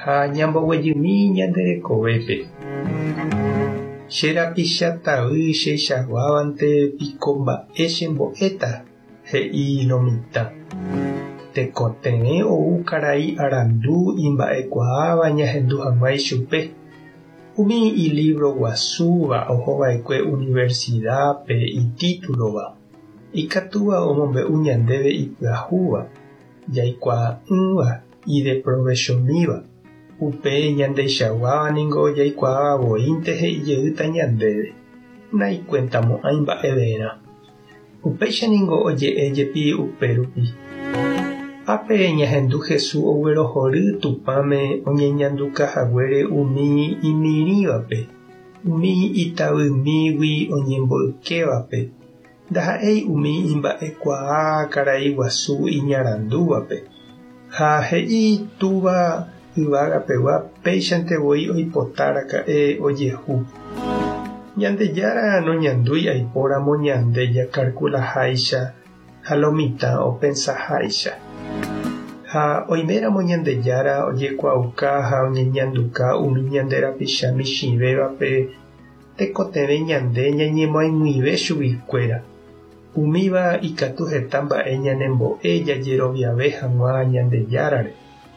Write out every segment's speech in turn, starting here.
Ha ñamboguejymi ñande rekovépe. Che rapicha tavy cheichaguávante piko mba'e chembo'éta, he'i lo mitã. Tekotevẽ ou karai arandu imba'ekuaáva ñahendu hag̃ua ichupe. Umi ilívro guasúva ohova'ekue universidápe itítulova, ikatúva omombe'u ñandéve ipyahúva, jaikuaa'ỹva ideprovechomíva. Upe ñandeichaguáva ningo jaikuaáva voínte he'i jeýta ñandéve, naikuentamo'ãi mba'everã. Upéicha ningo oje'e jepi upérupi. Ápe ñahendu Jesús oguerohory Tupãme oñeñanduka haguére umi imirĩvape, umi itavymígui oñemboykévape, ndaha'éi umi imba'ekuaa karai guasu iñarandúvape. Ha he'i Túva yvagapegua péichante voi oipota raka'e ojehu. Ñandejára noñandúi aipóramo ñande jakarkulaháicha ha lo mitã opensaháicha. Ha oiméramo Ñandejára ojekuaauka ha oñeñanduka umi ñande rapicha michĩvévape, tekotevẽ ñande ñañemoag̃uive chuguikuéra. Umíva ikatu heta mba'e ñanembo'e jajeroviave hag̃ua Ñandejárare.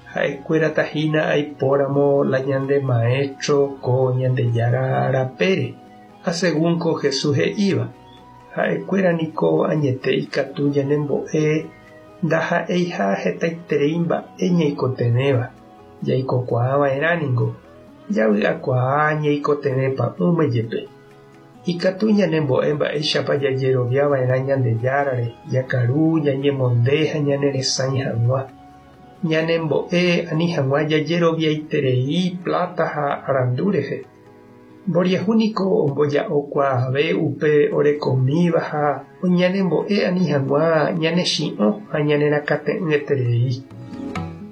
Ha'ekuérata hína aipóramo la ñande maéstro ko Ñandejára rapére, ha según ko Jesús he'íva, ha'ekuéra niko añete ikatu ñanembo'e ndaha'eiha hetaiterei mba'e ñaikotevẽva, jaikokuaa va'erã ningo, javy'akuaa ñaikotevẽ pa'ũme jepe. Ikatu ñanembo'e mba'éichapa jajerovia va'erã Ñandejárare, jakaru, ñañemonde ha ñaneresãi hag̃ua. Ñanembo'e ani hag̃ua jajeroviaiterei pláta ha arandu rehe. Mboriahu niko omboja'okuaave upe orekomíva ha ñanembo'e ani hag̃ua ñanechi'õ ha ñanerakate'ỹeterei.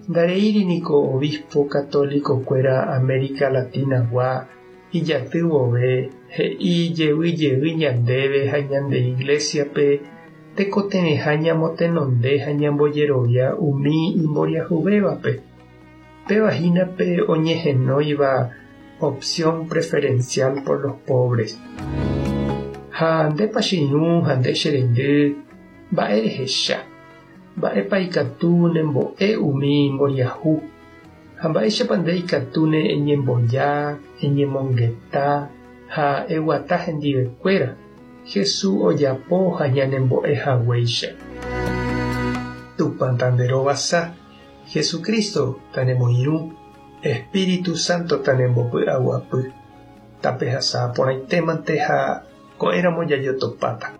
Ndareíri niko obispo católico-kuéra América Latina-gua Ijaty vove, he'i jey jey ñandéve ha ñande Iglésiape tekotevẽha ñamotenonde ha ñambojerovia umi imboriahuvévape. Péva hína pe oñehenóiva opción preferencial por los pobres. Ha ndépa che irũ ha nde che reindy, mba'e rehecha? Mba'épa ikatu nembo'e umi imboriahu? Ha mba'éichapa nde ikatúne eñemboja, eñemongeta ha eguata hendivekuéra, Jesús ojapo ha ñanembo'e haguéicha? Tupã tanderovasa, Jesucristo tanemoirũ, Espíritu Santo tanembopy'aguapy. Tapehasa porãitémante ha ko'ẽramo jajotopáta.